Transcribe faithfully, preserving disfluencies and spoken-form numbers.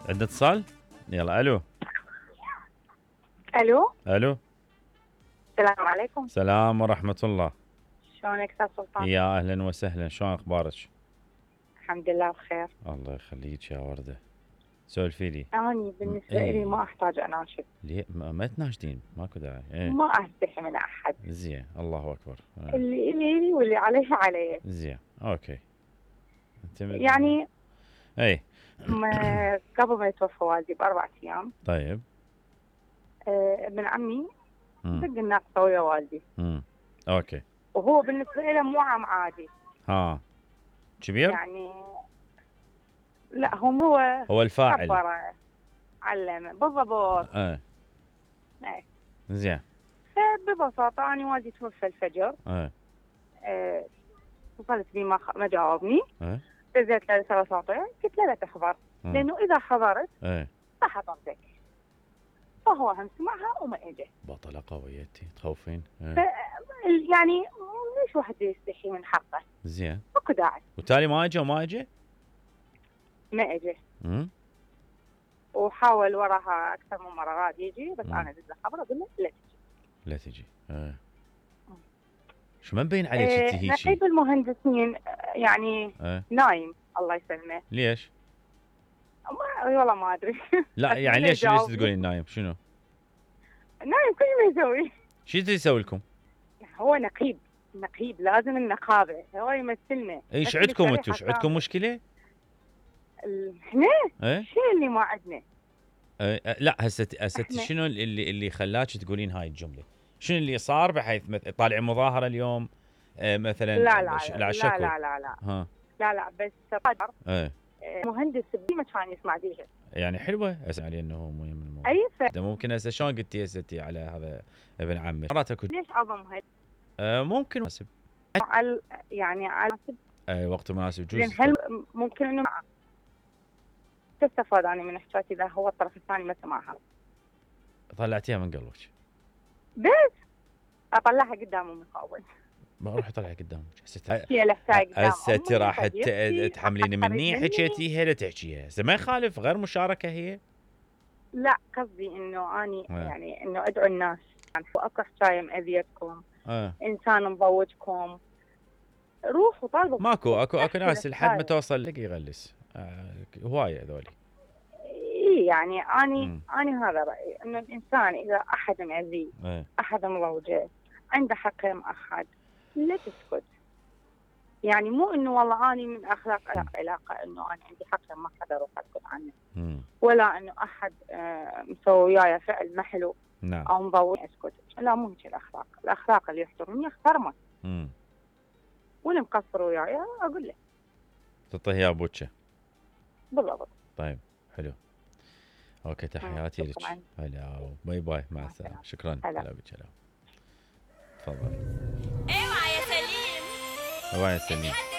عندنا اتصال؟ يلا الو. الو الو. السلام عليكم. سلام ورحمة الله. شلونك استاذ سلطان؟ يا اهلا وسهلا، شلون اخبارك؟ الحمد لله بخير. الله يخليك يا وردة. سولفي لي. اني بالنسبه إيه. لي ما احتاج اناشد. ليه ما, ما تناشدين؟ ماكو داعي. ايه. ما استحي من احد. زين، الله اكبر. ايه. اللي الي واللي عليه عليه. زين، اوكي. انت من... يعني اي ما قبل ما يتوفى والدي باربع ايام. طيب. آه ابن عمي امم دق الناقصه ويا والدي. امم اوكي. وهو بالنسبه له مو عام عادي. ها. كبير؟ يعني لا هو هو هو الفاعل. كبره علم بالضبط. ايه. ايه. زين. فببساطه انا والدي توفى الفجر. ايه. آه، اتصلت بي ما خ... ما جاوبني. ايه. دزيت له رساله صوتيه قلت له لا تحضر مم. لانه اذا حضرت ايه. راح اطردك. فهو هم سمعها وما اجى. بطلة قويتي تخوفين. ايه. ف... يعني ليش واحد يستحي من حقه؟ زين. ماكو داعي. وتالي ما اجى وما اجى؟ ما اجى. امم وحاول وراها اكثر من مره راد يجي بس مم. انا دز له خبر اقول له لا تجي. لا تجي. ايه. شو ما مبين عليك إيه انت هيجي؟ نقيب المهندسين يعني ايه. نايم الله يسلمه. ليش؟ ما والله ما ادري. لا يعني ليش ليش تقولين نايم؟ شنو؟ نايم كل ما يسوي. شو يسوي لكم؟ هو نقيب نقيب لازم النقابه هو يمثلنا. ايش عندكم انتم؟ ايش عندكم مشكله؟ احنا ايه؟ الشيء اللي ما عندنا. ايه لا هسه هسه إحنا- شنو اللي اللي خلاك تقولين هاي الجمله؟ شنو اللي صار بحيث مث- طالع مظاهره اليوم آه مثلا؟ لا لا ش- لا لا لا شكو. لا لا لا ها. لا لا بس قدر ايه. مهندس بما كان يسمع بيها. يعني حلوه اسمع انه هو مهم الموضوع. اي ف... ده ممكن هسه شلون قلتي هسه انتي على هذا ابن عمك؟ مرات اكو ليش عظمها؟ آه ممكن مناسب. على يعني على اي وقت مناسب لان جوز. هل ممكن انه تستفاد انا من حكايتي اذا هو الطرف الثاني ما سمعها. طلعتيها من قلبك. بس اطلعها قدام امي اول. ما اروح اطلع قدامك هسه. هي لفتها قدام هسه انت أمي، راح صديقتي، تحمليني مني مني. حكيتيها لا تحكيها، هسه ما يخالف غير مشاركه هي. لا قصدي انه اني آه. يعني انه ادعو الناس يعني اكو حكايه مأذيتكم اه انسان مضوجكم روحوا طالبوا. ماكو اكو اكو ناس لحد ما الحكاية. توصل لك يغلس. آه هوايه هذولي. اي يعني اني مم. اني هذا رايي انه الانسان اذا احد مأذيه ايه. احد مضوجه عنده حق مع احد لا تسكت. يعني مو انه والله اني من اخلاق علاقه انه انا عندي حق ما حدا اروح اسكت عنه. مم. ولا انه احد آه مسوي وياي فعل ما حلو نعم. او مضوج اسكت. لا مو هيك الاخلاق. الاخلاق اللي يحترمني احترمه. امم واللي مقصر وياي اقول له. تعطيه يا بوتشه. بالضبط. طيب حلو. اوكي تحياتي لك. شكراً. هلا باي باي مع مع السلامه. السلامة. شكرا. هلا. هلا بك. هلا. تفضل. اوعى يا سليم اوعى يا سليم. اتحدى